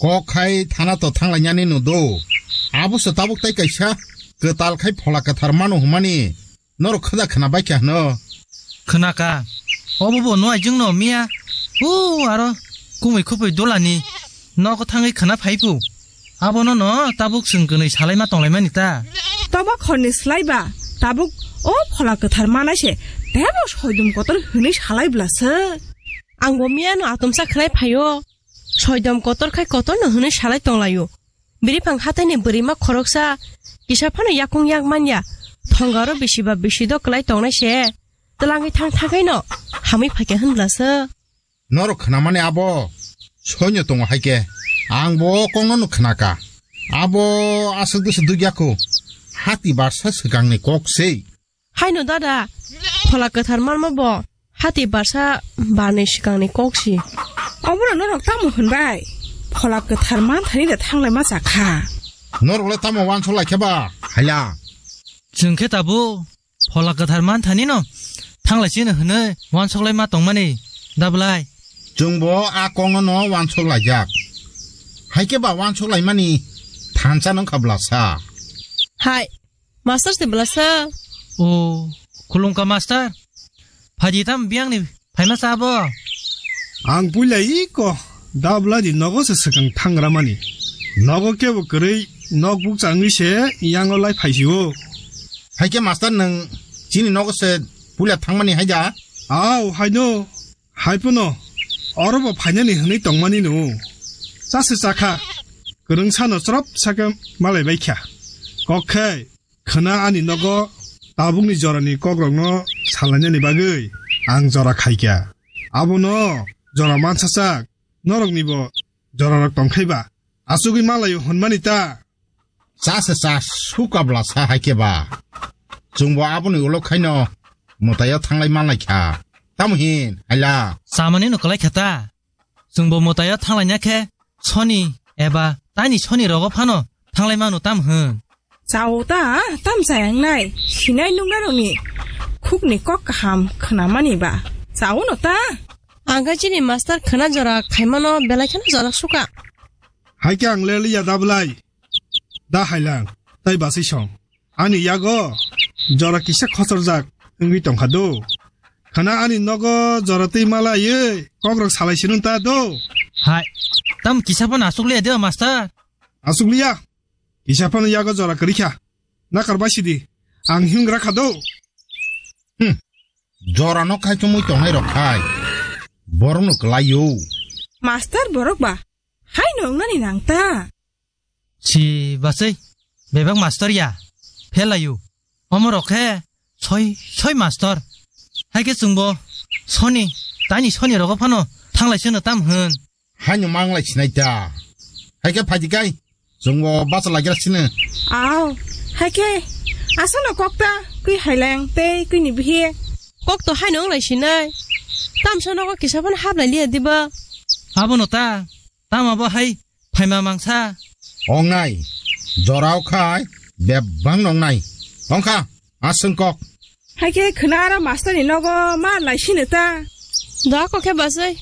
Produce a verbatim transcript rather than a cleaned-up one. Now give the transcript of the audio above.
Kok khai thana to thanglainani no do. Abo se tabuk tai kaisa kwtal khai phola kwthar mano hwnmani norok khada khna bai kha hwno. Khna ka. Obo bo no aijwng no miya. O aro kumui khupui dolani nogo thangwi khna phai phu. Abono no tabuk chwng kwnwi salai ma tonglai mani ta. Toba khorni slai ba tabuk o phola kwthar manai se tebo soidum kotor hwnwi salai bla se. Ang bo miya no atomsa khnai phaio. Soidom kotor khai kotor no hwnwi salai tonglaio. Biriphang hataini bwrwima khoroksa kisa phano yakung yak manya. Thongaro bisi ba bisi do kwlai tongnai se. Twlangwi thang thangwi no hamwi phaikha hwnbla se. Norok khnamani abo soino tongo hai khe. Ang bo kokno no khnaka. Abo aswk duswk dukya kho. Hati barsa swkangni kok sei. Haino dada, phola kwthar manma bo hati barsa barni swkangni kok si. Obono norok tamo hwnbai? Phola kwthar manthani da thanglai ma chakha. Norok le tamo wansok lai khe ba? Haila. Chwng khe tabuk phola kwthar manthani no thanglai chini hwnwi wansok lai ma tongmani da bwlai? Chwng bo a kokno no wansok laijak. Hai khe ba wansok laimani thansa nung kha bwlasa. Hai, Master se bwlasa. O, khulumkha master. Phaidi tam biyangni phaima sa bo. Ang puila iko dabladi nogo se swkang thangra mani. Nogo kebo kwrwi nok bukcha wngwi se yango lai phaisio. Hai khe master nwng chini nogo se puila thangmani hai da? Au, haino. Hai phano oro bo phainani hwnwi tongmani no. Cha se chakha. Kwrwngsa no chwrap sakhe malai bai kha. Kok khe khwna ani nogo tabukni jorani kokrokno salainani bagwi ang jora khaikha. Abono jora mansa chak, noroknibo jorarok tongkhai ba. Achugwi malaio hwnmani ta? Cha se cha, sukabla sa hai khe ba. Chwngbo aboni ulo khaino mwtaio thanglai manlai kha. Tamo hin, haila? Chamani no kwlai kha ta? Chwngbo mwtaio thanglaina khe soni eba taini soni rogo phano thanglai mano tam hwn? Chao ta, tam chayang nai, sinai nungnarokni khukni kok kaham khwnamani ba. Chao no ta? Ang khe chini master khwna jora khaimano belai kheno jora suka. Hai khe ang le liya da bwlai? Da hailang, tai basai song. Ani yago jora kisa khochorjak wngwi tongkha do. Khana ani nogo jora twi malaiwi kokrok salai sinung ta do. Hai, tam kisa phano asuk liya de o master? Asuk liya. Kisa phano yago jora kwrwi kha. Nakar bai sidi. Ang hingra kha do. Hmm. Jora no khai chumui tongnai rok khai. Borok no kwlai yo. Master borok ba. Hai no wngnani nang ta. Si basai, bebak master ya, phelayu. Omo rok khe soi, soi master. Hai khe chwngbo soni, tani soni rogo phano thanglai seno tam hwn. Hai no manglai sinai ta. Hai khe phaidi kai, chwngbo bacha lagira sino. Aw, hai khe asano kok ta, kwi haileng tei kwi ni bihi. Kok to hai no wnglai sinai. Tam sono kok kisa phano hablai liya diba. Abono ta, tamo bo hai phaima mangsa. Ongnai, jorao khai bebang nongnai. Ongkha, aswng kok. Hai khe khwna aro master ni nogo ma lai sino ta. Da kok khe basai,